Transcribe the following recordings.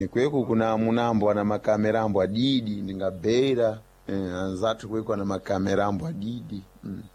Kweku kuna munambo ana makamera ambo adidi ndingabhera anzathu kweku ana makamera ambo adidi.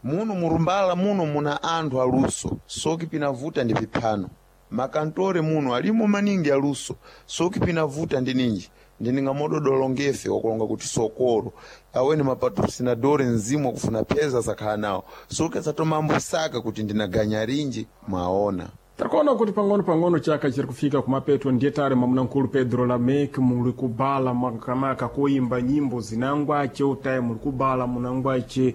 Muno murumbala muno muna anthu aluso soki pinavuta ndi piphano. Makantore muno alimo maningi aluso soki pinavuta ndi ninji ndining'amododolongefe wakulonga kuti sokolo aweni mapatrocinadores mzimu wakufuna pheza asakhala nawo soki asatomambosaka kuti ndinaganya rinji mwaona. Takuona kuti pang'ono-pang'ono chaka chiri kufika kumapeto ndiye tali mwamuna-mkulu Pedro Lameki muli kubala makamaka kuimba nyimbo zinangwace utayi muli kubala munangwace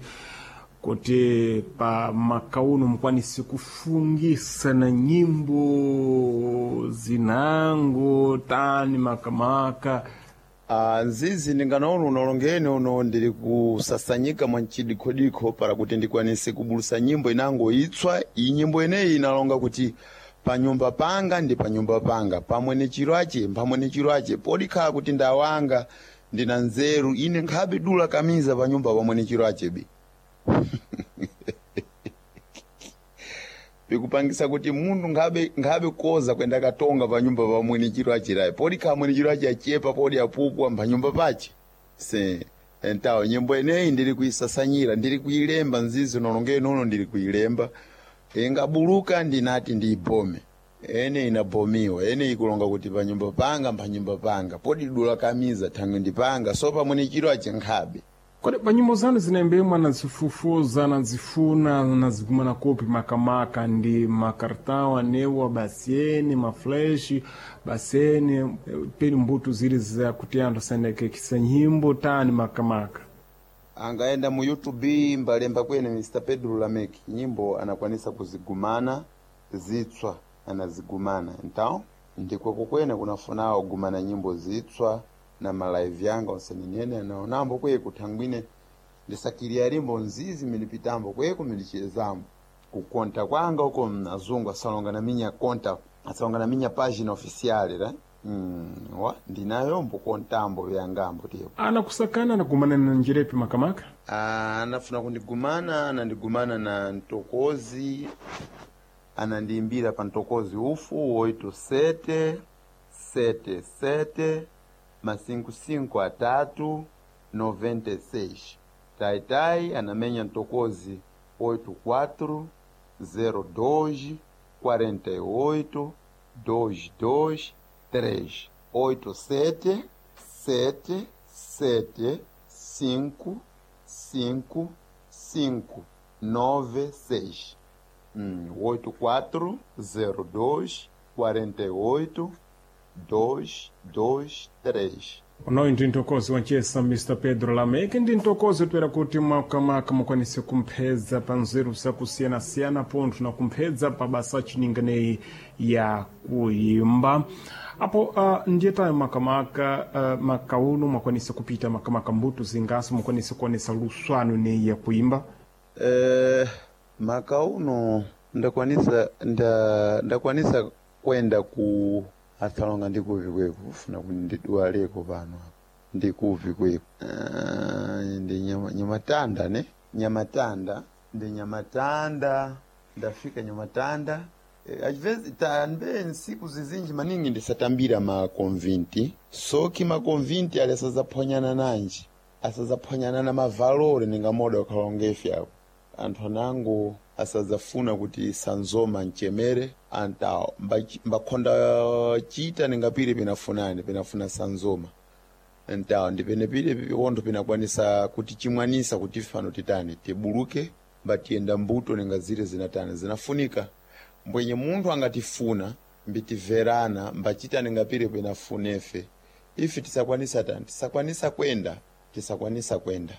kuti pa makauno mukwanise kufungisa na nyimbo zinango tani makamaka. Nzizi ndinganaona unolongeni uno ndili kusasanyika mwa mchidikhodikho para kuti ndikwanise kubulusa nyimbo inango itswa. Iyi nyimbo ineyi inalonga kuti panyumba panga ndi panyumba panga pamwe ni chiro ache pamwe ni chiro ache podikhala kuti ndawanga ndina nzeru ine nkhabe dula kamiza panyumba pamwe ni chiro achebe pikupangisa kuti munthu nkhabe koza kwenda katonga panyumba pamwe ni chiro achirayi podikhala mwene chiro ache achepa podi apupwa panyumba pache se entawo nyimbo ineyi ndili kuisasanyira ndili kuilemba nzizi nolongeni uno ndili kuilemba ingabuluka ndinati ndiibome ene inabomiwa ene ikulonga kuti panyumba panga panyumba panga podi dula kamiza thangwe ndipanga so pamwe ni chiro ache nkhabe. Kodi pa nyimbo zanu zinaimbemwa nazifufuza nazifuna nazigumana kopi makamaka ndi makartão anewa basene maflash basene peni mbuto zili zakuti anthu asayendekekisa nyimbo tani makamaka. Angaenda mu YouTube mbalemba kwene Mr Pedro Lameki nyimbo anakwanisa kuzigumana zitswa anazigumana então ndikweko kwene kunafunawo gumana nyimbo zitswa na malaivi yanga onse ninene anaonambo kweku thangwine ndisakiriya limbo nzizi milipitambo kweku milichezambo kukonta kwanga uko azungu asalonga na minya konta asalonga na minya página oficial ra wa ndinayombo kontambo vyangambo tipo Anakusakana anagumana na njirepi makamaka. Anafuna kundigumana anandigumana na ntokozi anandiimbira pa ntokozi ufu 87 77 masinkusinko atatu 96 taitai anamenya ntokozi 84 02 48 22 3 87 7 7 5 5 5 9 6 84 02 48 2 2 3. Unoyu ndi mtokozi wanchesa Mr Pedro Lameki ndi mtokozi toera kuti makamaka mukwanise kumphedza pa nzeru zakusiyanasiyana pontho na kumphedza pa basa chininganeyi ya kuimba apo ndiye tayo makamaka makauno mwakwanise kupita makamaka mbuto zingaso mukwanise kuonesa luswano neyi ya kuimba. Makauno ndakwanisa ndakwanisa kwenda ku asalonga ndikuvi kweku kufuna kuti ndidwaleko pano apa ndikuvi kweku ndi nyamatanda ne nyamatanda ndi nyamatanda ndafika nyamatanda às tambe nsiku zizinji maningi ndisatambira makonvinti soki makonvinti ali asazaphwanyana nanji asazaphwanyana na mavalore ningamoda wakhalongefe apo anthu anango asadzafuna kuti sanzoma mchemere antawo mbakhonda chita ningapire pinafunani pinafuna sanzoma ntawo ndipenepire pontho pinakwanisa kuti chimwanisa kuti fano titani tibuluke mbatiyenda mbuto ninga zile zinatani zinafunika mbwenye munthu angatifuna mbitiverana mbachita ningapire pinafunefe ife tisakwanisa tani tisakwanisa kwenda tisakwanisa kwenda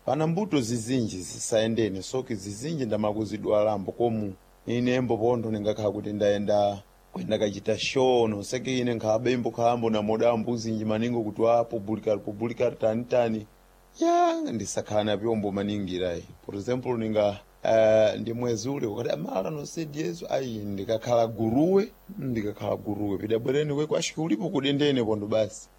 pana mbuto zizinji zisayendene soki zizinji ndamakuzidwalambo komu inembo pontho ningakhala kuti ndayenda kwenda kachita show noseke ine nkhabe imbo khalambo namoda mbuzinji maningo kuti wa publicar publicar tani tani ya ndisakhala na pyombo maningi rayi por exemplo ninga ndi mwezi ule wakati amala nosedi yesu ayi ndikakhala guruwe ndikakhala guruwe pidabwereni kweku ashiki ulipo kudendene pontho basi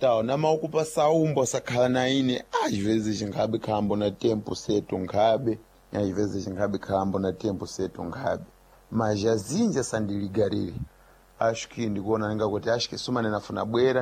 tawo namaukupa saumbo asakhala na ine às chinkhabe khalambo na tempo setu nkhabe às chinkhabe khalambo na tempo setu nkhabe mas azinji asandiligarire. Ashiki ndikuona ninga kuti ashiki sumane nafuna bwera.